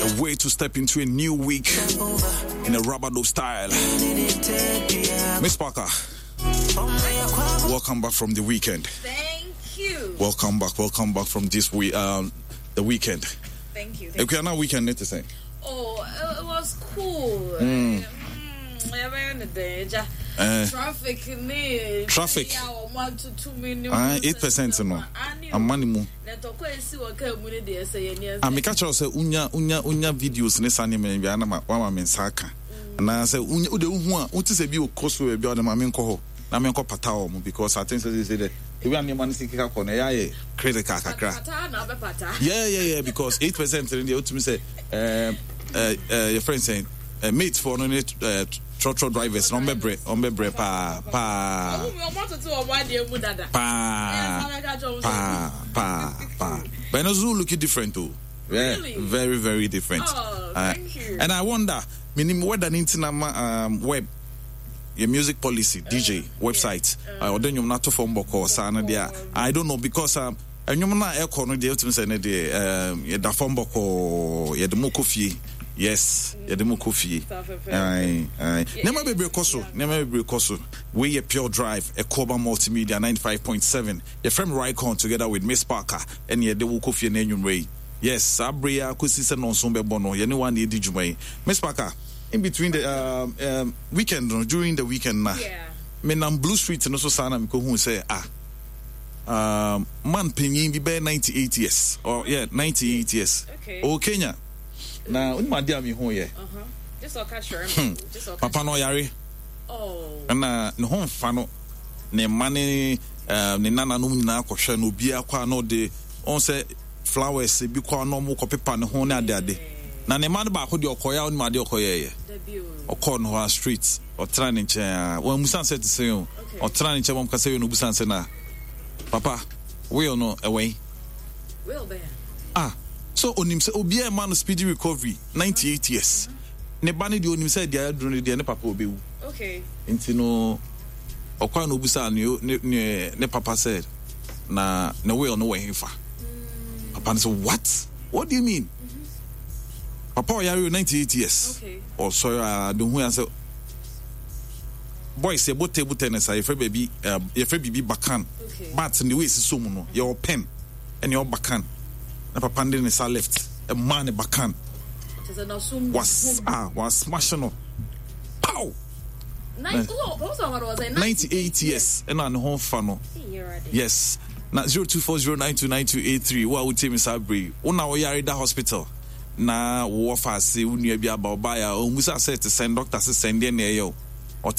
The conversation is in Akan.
A way to step into a new week in a rub-a-dub style. Miss Parker, welcome back from the weekend. Thank you. Welcome back. Welcome back from this week, the weekend. Thank you. Thank you. Now weekend, it is saying. Oh, it was cool. Traffic ne. Traffic. 8% no. Amani mu. Ah, me catch sɛ unya unya unya videos ne sa nneɛma bi ana ma wama me nsa aka. Ana sɛ unya ude uhu a wote sɛ bi okɔ so bi a ma me nkɔ hɔ na me nkɔ pata wɔn because I think sɛ sɛ dɛ ebi a nneɛma no si keka kɔ no ɛyɛ ayɛ critical kakra. Yeah, yeah, yeah, because 8% no deɛ wotumi sɛ eh, eh, eh, your friend saying eh, mate for no ne eh, trɔtrɔ drivers na ɔmbɛbrɛ ɔmbɛbrɛ paa paa paa paa paa paa but ɛno nso looking different o yeah really? Very, very different. Oh, thank you. And I wonder menim whether ne nti na ma web your music policy DJ website ɔde nnwom no ato fam bɔkɔɔ saa no deɛ I don't know because nnwom no a ɛkɔ no deɛ wotumi sɛ ne deɛ yɛda fam bɔkɔɔ, yɛde mo kɔ fie. Yes, yɛde mo kɔ fie. Nneɛma bebree kɔ so, nneɛma bebree kɔ so. Wei yɛ Pure Drive, Ɛkɔba Multimedia 95.7. Yɛfrɛ me Rycon together with Miss Parker ɛne yɛde wo kɔ fie no anwummerɛ yi. Yes, saa bere yi ara kɔsi sɛ nnɔnson bɛbɔ no, yɛne wo a na yɛdi dwuma yi. Miss Parker, in between the weekend no, during the weekend na, menam Blue Street no so saa na mekɔhuu sɛ, ah, man panyin bi bɛyɛ 98 years or yeah, 98 years ɔwɔ Kenya na onim adeɛ a mehu yɛ papa no ɔyare ɛna ne ho mfa no, ne mma ne ne nananom nyinaa kɔhwɛ no, obiara kɔ a na ɔde ɔn sɛ flowers bi kɔ a na ɔmo kɔpepa ne ho ne ade ade, na ne mma no baako deɛ ɔkɔyɛ a onim adeɛ ɔkɔyɛɛyɛ, ɔkɔɔ no hɔ a straight ɔtena ne nkyɛn a wɔamusa sɛ te sɛ o ɔtena ne nkyɛn ma ɔkasa wie no obusa sɛ na papa will no ɛwɔ yi. Will bɛn? Ah, so onim sɛ obiara ɛma no speedy recovery 98 years. Ne ba no deɛ onim sɛ deɛ aduru no deɛ ne papa obewu. Okay. Nti no ɔkɔ a na obusa ne ne ne papa sɛ na ne will no wɔ hefa. Papa no sɛ what? What do you mean? Papa ɔyare o 98 years. Okay. Ɔsɔre a de hu ya sɛ boys yɛbɔ table tennis a yɛfrɛ baabi yɛfrɛ biribi bakan bat ne wei sisɔ mu no yɛwɔ pen ɛne ɔwɔ bakan na papa no de ne sa left ɛmaa ne bakan was ah was smash no pow 98 years ɛna ne ho fa no yes na 0240929283 wo a wotie me saa bere yi wo na woyare da hospital na wowɔ faase wo nua bi aba ɔbaeɛ a ɔmmusa sɛ te sɛn doctor se sɛn deɛ na ɛyɛ o.